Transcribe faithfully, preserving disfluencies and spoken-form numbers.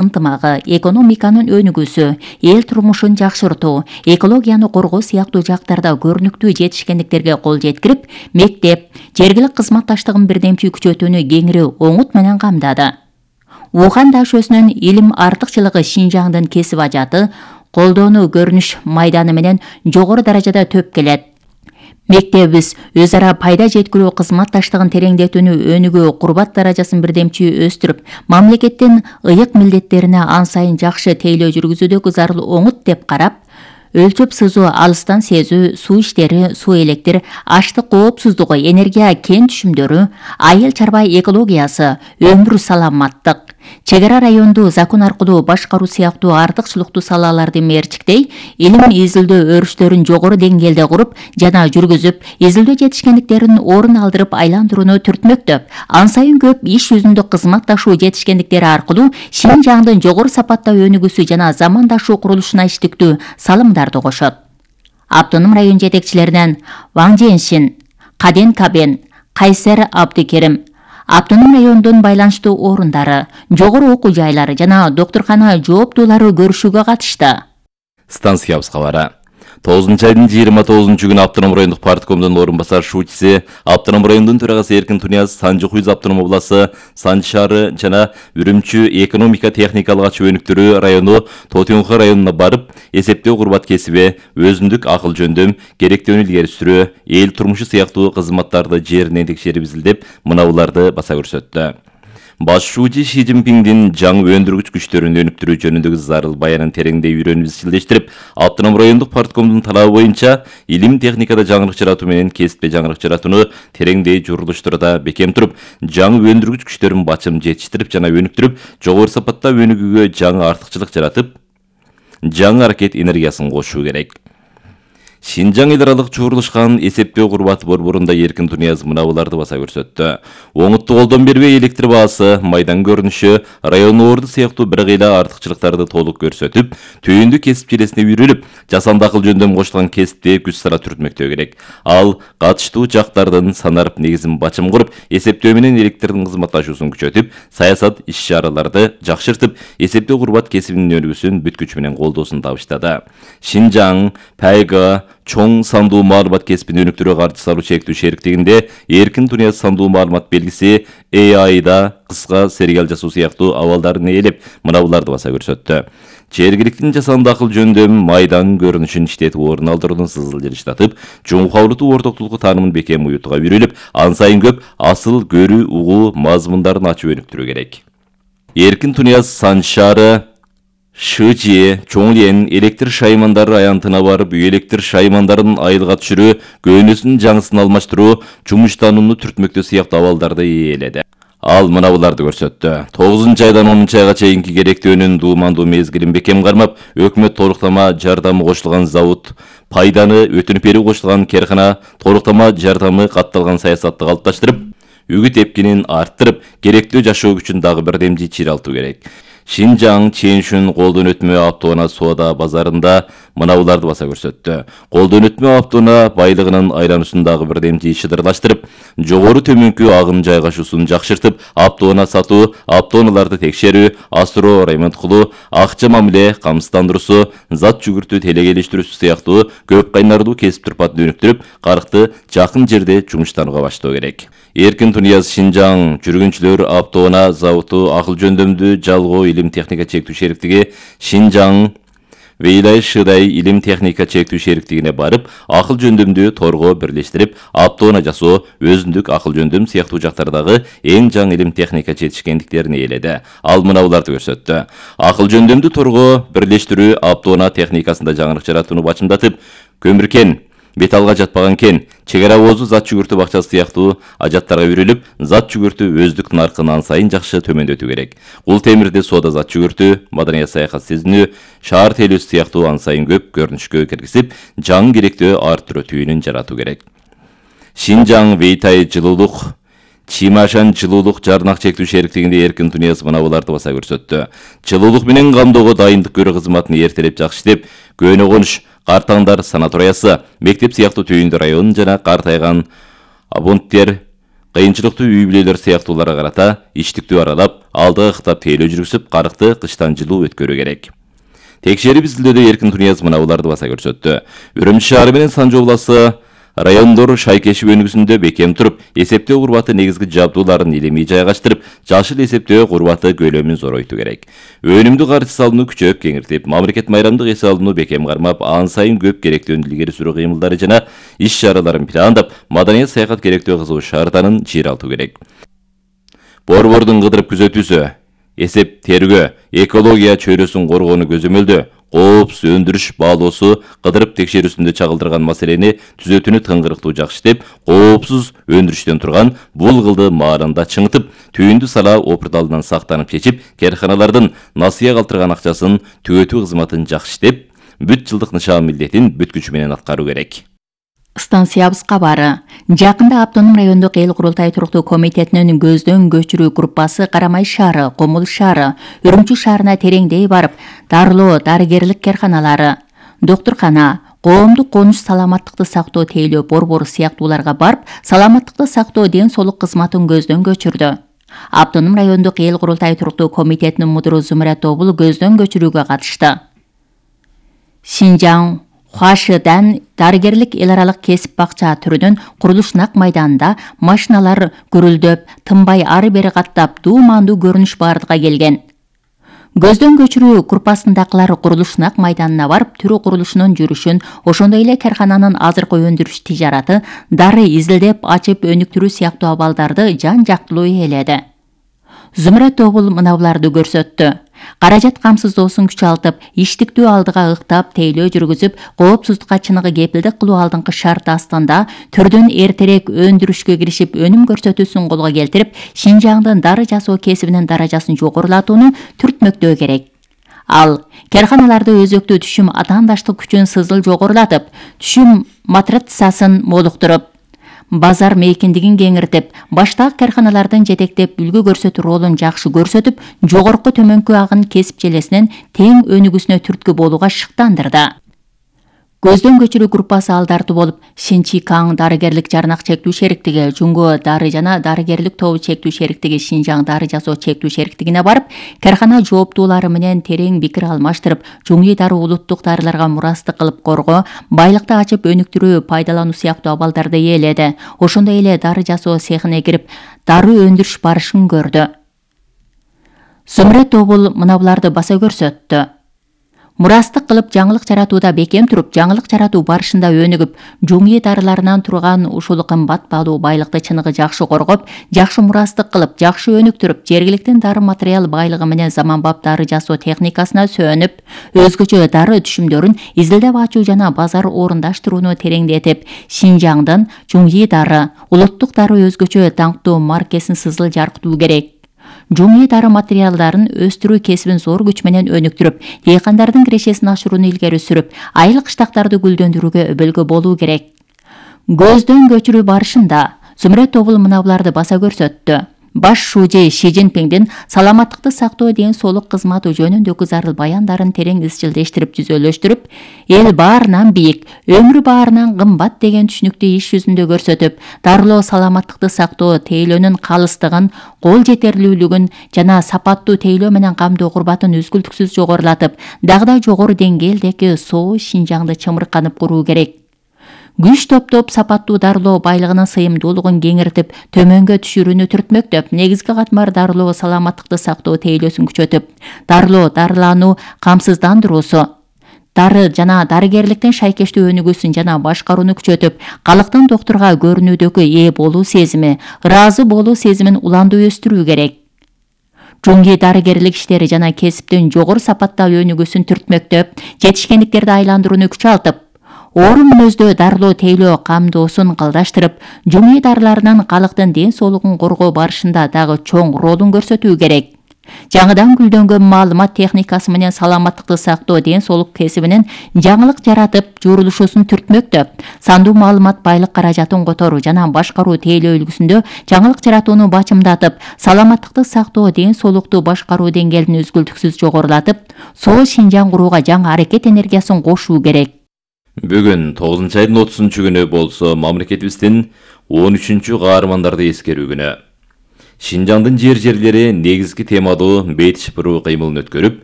ынтымагы, экономиканын өнүгүүсү, эл турмушун жакшыртуу, экологияны коргоо сыяктуу жактарда көрүнүктүү жетишкендиктерге кол жеткирип, мектеп, жергилик кызматташтыгын бирдемчи күчөтүүнү кеңири оңут менен камдады. Ухань дашөсүнүн илим артыкчылыгы Шинжаңдын кесип ажаты, колдоону көрүнүш майданы менен жогору даражада төп келет. Мектебибиз өз ара пайда жеткирүү кызматташтыгын тереңдетүүнү өнүгүү, курбат даражасын бирдемчи өстүрүп, мамлекеттин ыйык милдеттерине ан сайын жакшы тейлөө жүргүзүүдөгү зарыл оңут деп карап, өлчөп сызуу, алыстан сезүү, суу иштери, суу электр, аштык коопсуздугу, энергия кен түшүмдөрү, айыл чарба экологиясы, өмүр саламаттык, чегара райондуу закон аркылуу башкаруу сыяктуу артыкчылыктуу салаларды мерчиктей, илим изилдөө өрүштөрүн жогору деңгээлде куруп жана жүргүзүп, изилдөө жетишкендиктерин орун алдырып айландырууну түртмөктөп, ан сайын көп иш жүзүндө кызматташуу жетишкендиктери аркылуу Шинжаңдын жогору сапатта өнүгүүсү жана замандашуу курулушуна иштиктүү салымдарды кошот. Автоном район жетекчилеринен Ваң Женшин, Каден Кабен, Кайсер Абдыкерим, автоном райондун байланыштуу орундары, жогору окуу жайлары жана доктуркана жооптуулары көрүшүүгө катышты. Станциябыз кабары. тогузунчу айдын жыйырма тогузунчу күнү автоном райондук парткомдун орун басар шуучиси, автоном райондун төрагасы Эркин Тунияз, Санжы Хуйз автоном обласы, Санжы шаары жана Үрүмчү экономика техникалык ачуу өнүктүрүү району Тотюнха районуна барып, эсептөө курбат кесиби, өзүндүк акыл жөндөм, керектүүнү илгери сүрүү, эл турмушу сыяктуу кызматтарды жеринен текшерип изилдеп, мынауларды баса көрсөттү. Башчуучу Ши Цзиньпиңдин жаңы өндүргүч күчтөрүн өнүктүрүү жөнүндөгү зарыл баянын тереңдей үйрөнүп изчилдештирип, автоном райондук парткомдун талабы боюнча илим техникада жаңырык жаратуу менен кесипте жаңырык жаратууну тереңдей журулуштурууда бекем туруп, жаңы өндүргүч күчтөрүн бачым жетиштирип жана өнүктүрүп, жогору сапатта өнүгүүгө жаңы артыкчылык жаратып, жаңы аракет энергиясын кошуу керек. Шинжаң эл аралык чогулушкан эсептөө курбаты борборунда Эркин Тунияз мынауларды баса көрсөттү. Оңуттуу колдон бербей электр баасы, майдан көрүнүшү, район орду сыяктуу бир кыйла артыкчылыктарды толук көрсөтүп, түйүндү кесип желесине үйрүлүп, жасанды акыл жөндөм кошулган кесипти күч сара түртмөктөө керек. Ал катыштуу жактардын санарып негизин бачым куруп, эсептөө менен электрдин кызматташуусун күчөтүп, саясат иш-чараларды жакшыртып, эсептөө курбат кесибинин өнүгүүсүн бүт күчү менен колдоосун табыштады. Шинжаң, Пайга, чоң сандуу маалымат кесибин өнүктүрүүгө каршы салуу чектүү шериктигинде Эркин Тунияз сандуу маалымат белгиси А I-да кыска сериал жасоо сыяктуу абалдарын ээлеп, мынауларды баса көрсөттү. Жергиликтин жасанды акыл жөндөм майдан көрүнүшүн иштетип орун алдыруунун сызыл жылыштатып, жумукаулуктуу ортоктулуку таанымын бекем уютууга үйрүлүп, ан сайын көп асыл көрүү, угуу мазмундарын ачып өнүктүрүү керек. Эркин Тунияз Санжы шаары Шыжие, Чоңлен, электр шаймандары аянтына барып, үй электр шаймандарын айылга түшүрүү, көйнөсүнүн жаңысын алмаштыруу, жумуштанууну түртмөктөө сыяктуу абалдарды ээледи. Ал мынауларды көрсөттү. тогузунчу айдан онунчу айга чейинки керектөөнүн дуумандуу мезгилин бекем кармап, өкмөт толуктама жардамы кошулган завод, пайданы өтүнүп берүү кошулган керкана, толуктама жардамы катталган саясатты калыпташтырып, үгүт эпкинин арттырып, керектүү жашоо күчүн дагы бирдемчи чиралтуу керек. Шинжаң Ченшүн колдон өтмө автоунаа соода базарында мынауларды баса көрсөттү. Колдон өтмө автоунаа байлыгынын айлануусун дагы бирдемчи шыдырлаштырып, жогору төмөнкү агым жайгашуусун жакшыртып, автоунаа сатуу, автоунааларды текшерүү, асыроо, ремонт кылуу, акча мамиле камсыздандыруусу, зат жүгүртүү телегелиштирүүсү сыяктуу көп кайнардуу кесип турпатын өнүктүрүп, карыкты жакын жерде жумуштанууга баштоо керек. Эркин Тунияз Шинжаң жүргүнчүлөр автоунаа заводу акыл жөндөмдүү жалгоо илим техника чектүү шериктиги Шинжаң Вейлай Шыдай илим техника чектүү шериктигине барып, акыл жөндөмдүү торго бирлештирип, автоунаа жасоо, өзүндүк акыл жөндөм сыяктуу жактардагы эң жаңы илим техника жетишкендиктерин ээледи. Ал мынауларды көрсөттү. Акыл жөндөмдүү торго бирлештирүү автоунаа техникасында жаңырык жаратууну бачымдатып, көмүркен, металлга жатпаган кен, чегара оозу зат жүгүртүү бакчасы сыяктуу ажаттарга үйрүлүп, зат жүгүртүү өздүк наркын ан сайын жакшы төмөндөтүү керек. Кул темирде соода зат жүгүртүү, маданият саякат сезинүү, шаар тейлөөсү сыяктуу ан сайын көп көрүнүшкө киргизип, жаңы керектөө арттыруу түйүнүн жаратуу керек. Шинжаң Вейтай жылуулук Чимашан жылуулук жарнак чектүү шериктигинде Эркин Тунияз мынауларды баса көрсөттү. Жылуулук менен камдоого дайындык көрүү кызматын эртелеп жакшы иштеп, көөнө конуш, картаңдар санаториясы, мектеп сыяктуу түйүндү район жана картайган абоненттер кыйынчылыктуу үй бүлөлөр сыяктууларга карата иштиктүү аралап, алдыга ыктап тейлөө жүргүзүп, карыкты кыштан жылуу өткөрүү керек. Текшерип изилдөөдө Эркин Тунияз мынабуларды баса көрсөттү. Үрүмчү шаары менен Санжы областы райондор шайкешип өнүгүүсүндө бекем туруп, эсептөө курбаты негизги жабдууларын илимий жайгаштырып, жашыл эсептөө курбаты көлөмүн зоройтуу керек. Өнүмдүү каржы салууну күчөп кеңиртип, мамлекет майрамдык эс алууну бекем кармап, ан сайын көп керектүүнү илгери сүрүү кыймылдары жана иш чараларын пландап, маданият саякат керектөө кызуу шартанын чыйралтуу керек. Борбордун кыдырып күзөтүүсү, эсеп тергөө, экология чөйрөсүн коргоону көзөмөлдөө, коопсуз өндүрүш баалоосу кыдырып текшерүүсүндө чагылдырган маселени түзөтүүнү тыңгырыктуу жакшытып, коопсуз өндүрүштөн турган бул кылды маалында чыңытып, түйүндү сала опурдалынан сактанып чечип, карханалардын насыя калтырган акчасын түгөтүү кызматын жакшытып, бүт жылдык нышан милдетин бүт күчү менен аткаруу керек. Станциябыз кабары. Жакында Автоном райондук эл курултай туруктуу комитетинин көздөн көчүрүү группасы Карамай шаары, Комул шаары, Үрүмчү шаарына тереңдей барып, дарылоо, дарыгерлик карханалары, доктуркана, коомдук конуш саламаттыкты сактоо тейлөө борбору сыяктууларга барып, саламаттыкты сактоо ден соолук кызматын көздөн көчүрдү. Автоном райондук эл курултай туруктуу комитетинин мудуру Зумрат Тобул көздөн көчүрүүгө катышты. Шинжаң Хуашыдан дарыгерлик эл аралык кесип бакча түрүнүн курулуш нак майданында машиналар гүрүлдөп, тынбай ары бери каттап, дуумандуу көрүнүш бардыга келген. Көздөн көчүрүү группасындагылар курулуш нак майданына барып, түрү курулушунун жүрүшүн, ошондой эле кархананын азыркы өндүрүш тижараты, дары изилдеп, ачып өнүктүрүү сыяктуу абалдарды жан жактылуу ээледи. Зумрат Тобул мынабуларды көрсөттү. Каражат камсыздоосун күчалтып, иштиктүү алдыга ыктап, тейлөө жүргүзүп, коопсуздукка чыныгы кепилдик кылуу алдыңкы шарт астында түрдөн эртерээк өндүрүшкө киришип, өнүм көрсөтүүсүн колго келтирип, Шинжаңдын дары жасоо кесибинин даражасын жогорулатууну түртмөктөө керек. Ал карханаларды өзөктүү түшүм атаандаштык күчүн сызыл жогорулатып, түшүм матрицасын молуктуруп, базар мейкиндигин кеңиртип, баштагы карханалардын жетектеп үлгү көрсөтүү ролун жакшы көрсөтүп, жогорку төмөнкү агын кесип желесинин тең өнүгүүсүнө түрткү болууга шыктандырды. Көздөн көчүрүү группасы алдарты болуп, Шинчикаң дарыгерлик жарнак чектүү шериктиги, Жунго дары жана дарыгерлик тобу чектүү шериктиги, Шинжаң дары жасоо чектүү шериктигине барып, кархана жооптуулары менен терең пикир алмаштырып, Жуңи дары улуттук дарыларга мурастык кылып коргоо, байлыкты ачып өнүктүрүү, пайдалануу сыяктуу абалдарды ээледи. Ошондой эле дары жасоо цехине кирип, дары өндүрүш барышын көрдү. Зумрат Тобул мынабуларды баса көрсөттү. Мурастык кылып жаңылык жаратууда бекем туруп, жаңылык жаратуу барышында өнүгүп, жуңи дарыларынан турган ушул кымбат баалуу байлыкты чыныгы жакшы коргоп, жакшы мурастык кылып, жакшы өнүктүрүп, жергиликтин дары материал байлыгы менен заманбап дары жасоо техникасына сөнүп, өзгөчө дары түшүмдөрүн изилдеп ачуу жана базар орундаштырууну тереңдетип, Шинжаңдын жуңи дары, улуттук дары өзгөчө даңктуу маркесин сызыл жаркытуу керек. Жуңи дары материалдарын өстүрүү кесибин зор күч менен өнүктүрүп, дыйкандардын кирешесин ашырууну илгери сүрүп, айыл кыштактарды гүлдөндүрүүгө өбөлгө болуу керек. Көздөн көчүрүү барышында Зумрат Тобул мынабуларды баса көрсөттү. Баш шужи Ши Цзиньпиңдин саламаттыкты сактоо ден соолук кызматы жөнүндөгү зарыл баяндарын терең изчилдештирип, жүзөлөштүрүп, эл баарынан бийик, өмүр баарынан кымбат деген түшүнүктү иш жүзүндө көрсөтүп, дарылоо саламаттыкты сактоо тейлөөнүн калыстыгын, кол жетерлүүлүгүн жана сапаттуу тейлөө менен камдоо курбатын үзгүлтүксүз жогорулатып, дагы да жогору деңгээлдеги соо Шинжаңды чымырканып куруу керек. Күч топтоп, сапаттуу дарылоо байлыгынын сыйымдуулугун кеңиртип, төмөнгө түшүрүүнү түртмөктөп, негизги катмар дарылоо саламаттыкты сактоо тейлөөсүн күчөтүп, дарылоо дарылануу камсыздандыруусу, дары жана дарыгерликтин шайкештүү өнүгүүсүн жана башкарууну күчөтүп, калктын доктурга көрүнүүдөгү ээ болуу сезими, ыраазы болуу сезимин уландуу өстүрүү керек. Жуңги дарыгерлик иштери жана кесиптин жогору сапаттагы өнүгүүсүн түртмөктөп, жетишкендиктерди айландырууну күчалтып, орун мүнөздөө дарылоо тейлөө камдоосун калдаштырып, жуңи дарыларынын калктын ден соолугун коргоо барышында дагы чоң ролун көрсөтүү керек. Жаңыдан гүлдөнгөн маалымат техникасы менен саламаттыкты сактоо ден соолук кесибинин жаңылык жаратып, журулушусун түртмөктөп, сандуу маалымат байлык каражатын которуу жана башкаруу тейлөө үлгүсүндө жаңылык жаратууну бачымдатып, саламаттыкты сактоо ден соолукту башкаруу деңгээлин үзгүлтүксүз жогорулатып, соо Шинжаң курууга жаңы аракет энергиясын кошуу керек. Бүгүн тогузунчу айдын отузунчу күнү болсо мамлекетибиздин он үчүнчү каармандарды эскерүү күнү. Шинжаңдын жер жерлери негизги темадуу бейт шыпыруу кыймылын өткөрүп,